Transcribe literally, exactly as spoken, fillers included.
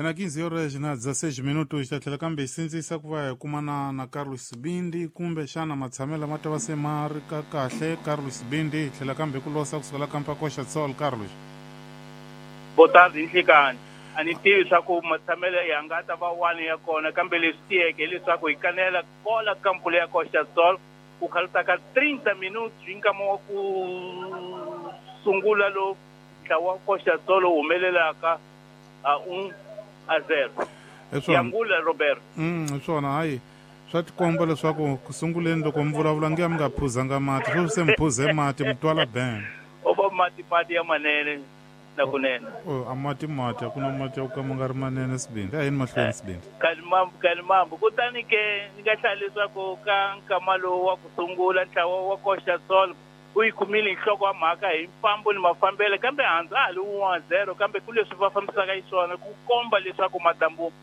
Ena quinze horas na dezesseis minutos, hi ta tlhela kambe hi sindzisa ku va hi kumana na Carlos Sibindi, kumbe xana matshamelo ma ta va se ma ri ka kahle. Carlos Sibindi, hi tlhela kambe ku losa kusukela kampa Costa Sol. Carlos. Boa tarde, nhlikani. A ni tivi swa ku matshamelo ya nga ta va wani ya kona, kambe leswi tiyeke hileswaku hi kanela kola kampu leya Costa Sol ku khalutaka trinta minutos hi nkama wa ku sungula lowu ntlawa wa Costa Sol wu humelelaka a un a zero. Hi swona. Yangula Robert. Mm, hi swona. Hayi, swa tikomba leswaku ku sunguleni loko mi vulavula nge mi nga phuzanga mati, sweswi se mi phuze mati, mi twala ben. O va mati mati ya manene na kunene. O a mati mati, a ku na mati ya ku ka ma nga ri manene. Sibindi, a yini mahlweni, Sibindi. Kalimambu, kalimambu. Kutani ke ni nga hlaya leswaku ka nkama lowu wa ku sungula ntlawa wa Costa Sol u yi kumile nhloko wa mhaka hi mfambo ni mafambelo, kambe handzu a ha li one zero, kambe ku leswi va fambisaka xiswona ku komba leswaku madambu.